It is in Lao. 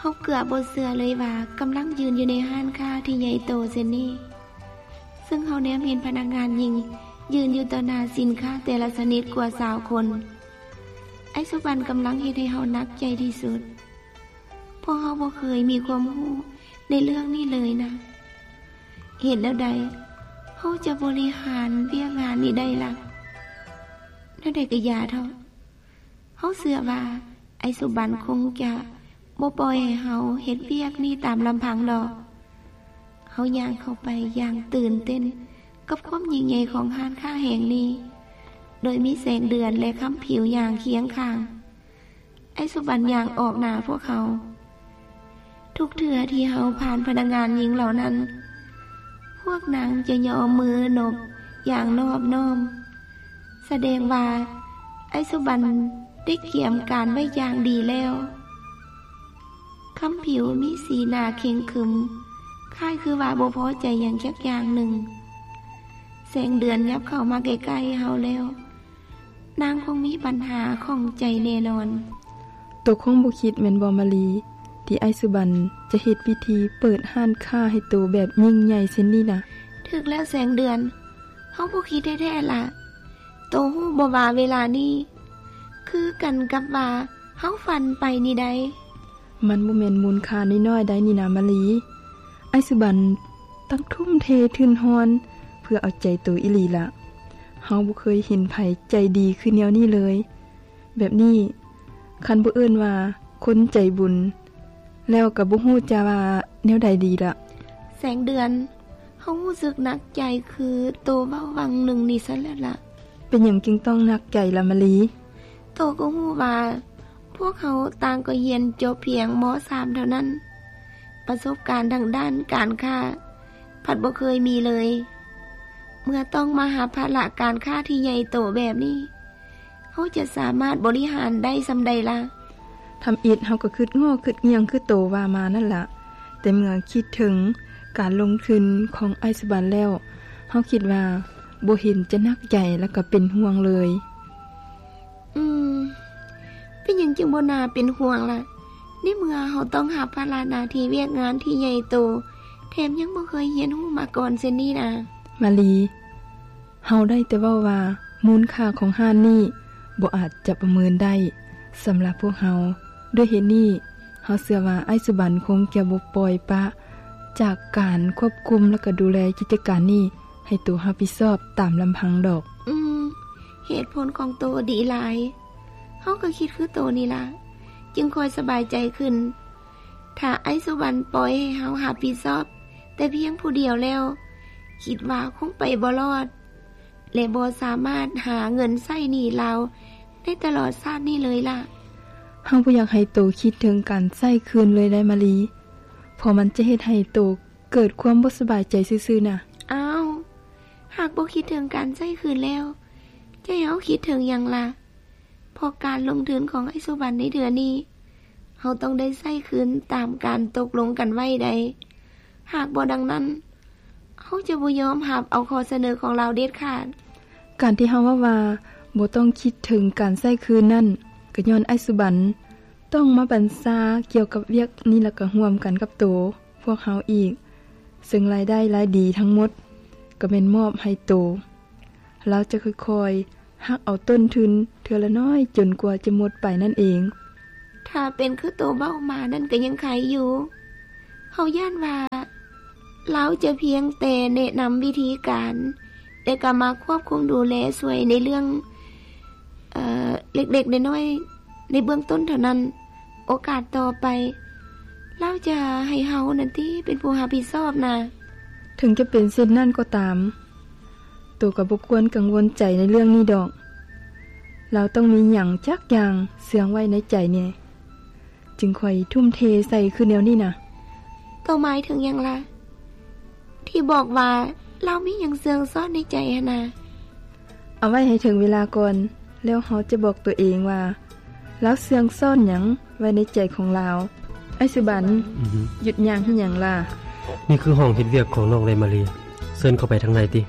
ເຮົາເກືອບບໍ່ເຊື່ອເລີຍວ່າກຳລັງຢືນຢູ່ໃນຮ້ານຄ້າທີ່ໃຫຍ່ໂຕເຊັ່ນນີ້, ເຊິ່ງເຮົາແນມເຫັນພະນັກງານຍິງຢືນຢູ່ຕໍ່ໜ້າສິນຄ້າແຕ່ລະຊະນິດກວ່າຊາວຄົນ. ອ້າຍສຸບັນກຳລັງເຮັດໃຫ້ເຮົາໜັກໃຈທີ່ສຸດ, ເພາະເຮົາບໍ່ເຄີຍມີຄວາມຮູ້ໃນເລື່ອງນີ້ເລີຍນະ. ເຮັດແນວໃດເຮົາຈະບໍລິຫານວຽກງານນີ້ໄດ້ລະ? ແນວໃດກໍຢ່າເຖາະ, ເຮົາເຊື່ອວ່າອ້າຍສຸບັນຄົງຈະບໍ່ປ່ອຍໃຫ້ເຮົາເຮັດວຽກນີ້ຕາມລຳພັງດອກ. ເຮົາຍ່າງເຂົ້າໄປຢ່າງຕື່ນເຕັ້ນກັບຄວາມຍິ່ງໃຫຍ່ຂອງຮ້ານຄ້າແຫ່ງນີ້, ໂດຍມີແສງເດືອນ ແລະ ຄຳຜິວຍ່າງຄຽງຂ້າງ. ອ້າຍສຸບັນຍ່າງອອກໜ້າພວກເຮົາ. ທຸກເທື່ອທີ່ເຮົາຜ່ານພະນັກງານຍິງເຫຼົ່ານັ້ນ, ພວກນາງຈະຍໍມືນົບຢ່າງນອບນ້ອມ, ສະແດງວ່າອ້າຍສຸບັນໄດ້ກຽມການໄວ້ຢ່າງດີແລ້ວ. ຄຳຜິວມີສີໜ້າເຄັ່ງຂຶມ, ຄ້າຍຄືວ່າບໍ່ພໍໃຈຫຍັງຈັກຢ່າງໜຶ່ງ. ແສງເດືອນຫຍັບເຂົ້າມາໃກ້ໆເຮົາແລ້ວ. ນາງຄົງມີບັນຫາຂ້ອງໃຈແນ່ນອນ. ໂຕຄົງບໍ່ຄິດແມ່ນບໍ່ມາລີ ທີ່ອ້າຍສຸບັນຈະເຮັດພິທີເປີດຮ້ານຄ້າໃຫ້ໂຕແບບຍິ່ງໃຫຍ່ເຊັ່ນນີ້ນະ? ຖືກແລ້ວແສງເດືອນ, ເຮົາບໍ່ຄິດແທ້ໆລະ. ໂຕຮູ້ບໍ່ວ່າເວລານີ້ຄືກັນກັບວ່າເຮົາຝັນໄປນີ້ໃດ໋. ມັນບໍ່ແມ່ນມູນຄ່ານ້ອຍໆໃດນີ້ນາມາລີ. ອ້າຍສຸບັນຕັ້ງທຸ່ມເທທຶນຮອນເພື່ອເອົາໃຈໂຕອີ່ຫຼີລະ. ເຮົາບໍ່ເຄີຍເຫັນໃຜໃຈດີຄືແນວນີ້ເລີຍ. ແບບນີ້ ຄັນບໍ່ເອີ້ນວ່າຄົນໃຈບຸນ ແລ້ວກໍບໍ່ຮູ້ຈະວ່າແນວໃດດີລະ. ແສງເດືອນ, ເຮົາຮູ້ສຶກໜັກໃຈຄືໂຕເວົ້າຫວ່າງໜຶ່ງນີ້ຊັ້ນແຫຼະລະ. ເປັນຫຍັງຈຶ່ງຕ້ອງໜັກໃຈລະມາລີ? ໂຕກໍຮູ້ວ່າພວກເຮົາຕ່າງກໍຮຽນຈົບພຽງ ມ.ສາມ ເທົ່ານັ້ນ, ປະສົບການທາງດ້ານການຄ້າພັດບໍ່ເຄີຍມີເລີຍ. ເມື່ອຕ້ອງມາຮັບພາລະການຄ້າທີ່ໃຫຍ່ໂຕແບບນີ້, ເຮົາຈະສາມາດບໍລິຫານໄດ້ສ່ຳໃດລະ? ທຳອິດເຮົາກໍຄຶດງໍຄຶດງຽງຄືໂຕວ່າມານັ້ນລະ, ແຕ່ເມື່ອຄິດເຖິງການລົງທຶນຂອງອ້າຍສຸບັນແລ້ວ, ເຮົາຄິດວ່າບໍ່ເຫັນຈະໜັກໃຈ ແລະ ກໍເປັນຫ່ວງເລີຍ. ອືມ, ເປັນຫຍັງຈຶ່ງບໍ່ໜ້າເປັນຫ່ວງລະ? ໃນເມື່ອເຮົາຕ້ອງຮັບພາລະໜ້າທີ່ວຽກງານທີ່ໃຫຍ່ໂຕ, ແຖມຍັງບໍ່ເຄີຍຮຽນຮູ້ມາກ່ອນເຊັ່ນນີ້ນາ. ມາລີ, ເຮົາໄດ້ແຕ່ເວົ້າວ່າມູນຄ່າຂອງຮ້ານນີ້ບໍ່ອາດຈະປະເມີນໄດ້ສຳລັບພວກເຮົາ. ດ້ວຍເຫດນີ້, ເຮົາເຊື່ອວ່າອ້າຍສຸບັນຄົງຈະບໍ່ປ່ອຍປະຈາກການຄວບຄຸມ ແລະ ກໍດູແລກິດຈະການນີ້ໃຫ້ໂຕຮັບຜິດຊອບຕາມລຳພັງດອກ. ອືມ, ເຫດຜົນຂອງໂຕດີຫຼາຍ. ເຮົາກໍຄິດຄືໂຕນີ້ລະ, ຈຶ່ງຄ່ອຍສະບາຍໃຈຂຶ້ນ. ຖ້າອ້າຍສຸບັນປ່ອຍໃຫ້ເຮົາຮັບຜິດຊອບແຕ່ພຽງຜູ້ດຽວແລ້ວ, ຄິດວ່າຄົງໄປບໍ່ລອດ ແລະ ບໍ່ສາມາດຫາເງິນໃຊ້ໜີ້ລາວໃນຕະຫຼອດຊາດນີ້ເລີຍລະ. ເຮົາບໍ່ຢາກໃຫ້ໂຕຄິດເຖິງການໃຊ້ຄືນເລີຍໄດ໋ມາລີ, ເພາະມັນຈະເຮັດໃຫ້ໂຕເກີດຄວາມບໍ່ສະບາຍໃຈຊື່ໆນະ. ອ້າວ, ຫາກບໍ່ຄິດເຖິງການໃຊ້ຄືນແລ້ວ, ຈະໃຫ້ເຮົາຄິດເຖິງຫຍັງລະ? ເພາະການລົງທຶນຂອງອ້າຍສຸບັນໃນເທື່ອນີ້, ເຮົາຕ້ອງໄດ້ໃຊ້ຄືນຕາມການຕົກລົງກັນໄວ້ໃດ໋. ຫາກບໍ່ດັ່ງນັ້ນ, ເຮົາຈະບໍ່ຍອມຮັບເອົາຂໍ້ສະເໜີຂອງລາວເດັດຂາດ. ການທີ່ເຮົາເວົ້າວ່າບໍ່ຕ້ອງຄິດເຖິງການໃຊ້ຄືນນັ້ນ, ກໍຍ້ອນອ້າຍສຸບັນຕ້ອງມາບັນຊາກ່ຽວກັບວຽກນິລະກະຮ່ວມກັນກັບໂຕພວກເຮົາອີກ, ເຊິ່ງລາຍໄດ້ລາຍດີທັງໝົດກໍແມ່ນມອບໃຫ້ໂຕ. ລາວຈະຄ່ອຍໆ ຫັກເອົາຕົ້ນທຶນເທື່ອລະນ້ອຍຈົນກວ່າຈະໝົດໄປນັ້ນເອງ. ຖ້າເປັນຄືໂຕເວົ້າມານັ້ນກໍຍັງໄຄຢູ່. ເຮົາຢ້ານວ່າລາວຈະພຽງແຕ່ແນະນຳວິທີການ ແຕ່ກໍມາຄວບຄຸມດູແລຊ່ວຍໃນເລື່ອງ ເອີ ເລັກໆນ້ອຍໆໃນເບື້ອງຕົ້ນເທົ່ານັ້ນ. ໂອກາດຕໍ່ໄປ ລາວຈະໃຫ້ເຮົານັ້ນຕິເປັນຜູ້ຮັບຜິດຊອບນະ. ເຖິງຈະເປັນເຊັ່ນນັ້ນກໍຕາມ, ໂຕກໍບໍ່ຄວນກັງວົນໃຈໃນເລື່ອງນີ້ດອກ. ລາວຕ້ອງມີຫຍັງຈັກຢ່າງເຊື່ອງໄວ້ໃນໃຈແນ່, ຈຶ່ງຄ່ອຍທຸ່ມເທໃສ່ຄືແນວນີ້ນະ. ໂຕໝາຍເຖິງຫຍັງລະ? ທີ່ບອກວ່າລາວມີຫຍັງເຊື່ອງຊ້ອນໃນໃຈຫັ້ນນະ? ເອົາໄວ້ໃຫ້ເຖິງເວລາກ່ອນ, ແລ້ວເຮົາຈະບອກໂຕເອງວ່າລາວເຊື່ອງຊ້ອນຫຍັງໄວ້ໃນໃຈຂອງລາວ. ອ້າຍສຸບັນ, ອືຮຶ ຢຸດຍ່າງເຮັດຫຍັງລະ? ນີ້ຄືຫ້ອງເຮັດວຽກຂອງນ້ອງເລມາລີ. ເຊີນເຂົ້າໄປທາງໃນຕິ.